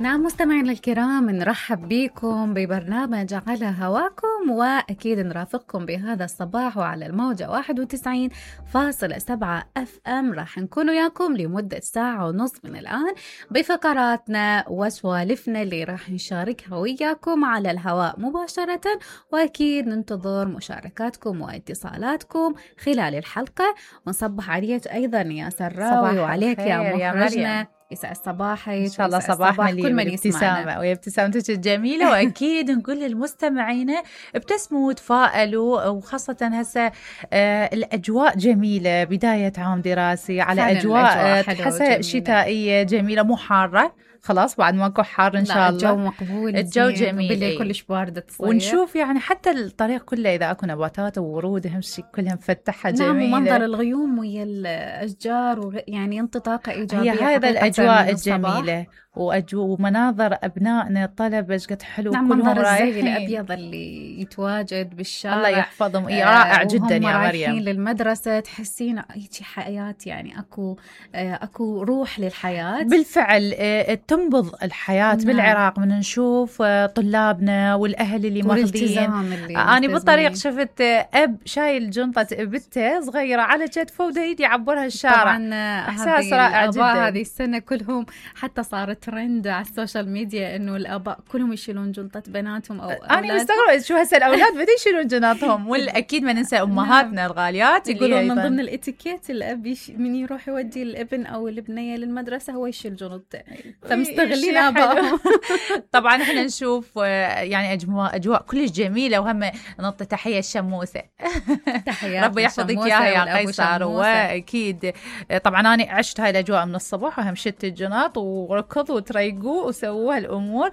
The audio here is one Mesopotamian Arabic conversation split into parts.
نعم مستمعينا الكرام، نرحب بكم ببرنامج على هواكم، وأكيد نرافقكم بهذا الصباح وعلى الموجة 91.7 FM. راح نكون وياكم لمدة ساعة ونص من الآن بفقراتنا وسوالفنا اللي راح نشاركها وياكم على الهواء مباشرة، وأكيد ننتظر مشاركاتكم واتصالاتكم خلال الحلقة. ونصبح عليك أيضا يا سراوي وعليك يا مخرجنا. يسعد صباحك إن شاء الله. صباحنا كل من ابتسامة ويا ابتسامتك الجميلة. وأكيد نقول للمستمعين ابتسموا وتفائلوا، وخاصة هسه الأجواء جميلة، بداية عام دراسي على أجواء تحسها شتائية جميلة، مو حارة خلاص، بعد ماكو حار إن شاء الله. الجو مقبول، الجو جميل، بالليل كلش باردة تصير. ونشوف يعني حتى الطريق كله إذا أكو نباتات وورود أهم شيء كلها مفتحة جميلة. نعم، ومنظر الغيوم ويا الأشجار يعني ينطي طاقة إيجابية. هي هذا الأجواء الجميلة ومناظر أبنائنا الطلبة قد حلو. نعم، منظر الزي الأبيض اللي يتواجد بالشارع، الله يحفظهم، رائع جدا يا مريم. رايحين للمدرسة تحسين هيك حياة، يعني أكو روح للحياة بالفعل. تنبض الحياة. نعم. بالعراق من نشوف طلابنا والأهل اللي ماخذين. أنا بالطريق شفت أب شايل جنطة ابنته صغيرة على كتفه ودا يعبرها الشارع. طبعا إحساس رائع جدا. هذه السنة كلهم حتى صارت ترند على السوشيال ميديا إنه الآباء كلهم يشيلون جنطة بناتهم أو أنا مستغربة شو هسه الأولاد بدي يشيلون جنطهم. والأكيد ما ننسى أمهاتنا الغاليات يقولون من ضمن الإتيكيت الأب من يروح يودي الابن أو البنية للمدرسة هو يشيل جنطته، فمستغلين آبائهم. طبعا احنا نشوف يعني أجواء كلش جميلة. وهم نعطي تحية الشموسة. ربي يحفظك إياها يا قيصر. وأكيد طبعا أنا عشت هاي الأجواء من الصباح، وهم شت الجناط وركضوا وتريقوا وسووا هالأمور.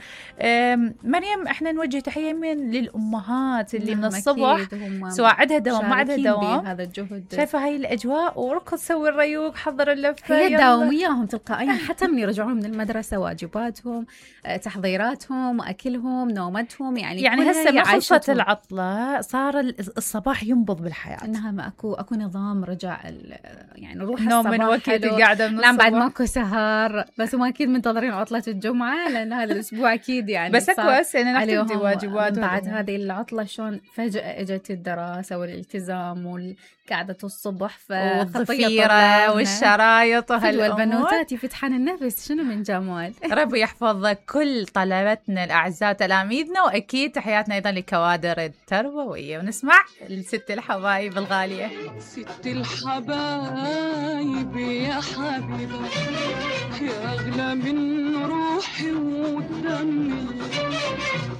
مريم احنا نوجه تحية من للأمهات اللي من الصبح سواء عندها دوام ما عندها دوام، هذا الجهد. شايفة هاي الأجواء وركض سوي الريوق حضر اللفة، هي داومياهم تلقائيا حتى من يرجعون من المدرسة، واجباتهم، تحضيراتهم، أكلهم، نومتهم، يعني هسه ما خلصت العطلة، صار الصباح ينبض بالحياة. إنها ما أكو نظام، رجع يعني روح نوم من وقت قاعدة من الصبح. بعد ماكو سهر، بس هم أكيد منتظرين عطلة الجمعة لأن هذا الأسبوع أكيد يعني بس أكو هسه نحتدي واجبات بعد هذه العطلة. شلون فجأة اجت الدراسة والالتزام والقعدة الصبح، والضفيرة والشرايط وهالأمور. والبنوتات يفتحن النفس، شنو من جمال. ربي يحفظ كل طلبتنا الأعزاء تلاميذنا، وأكيد تحياتنا أيضا لكوادر التربوية. ونسمع الست الحبايب الغالية. ست الحبايب يا حبيبة يا أغلى من روحي ودمي،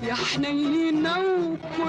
يا حنينة وكل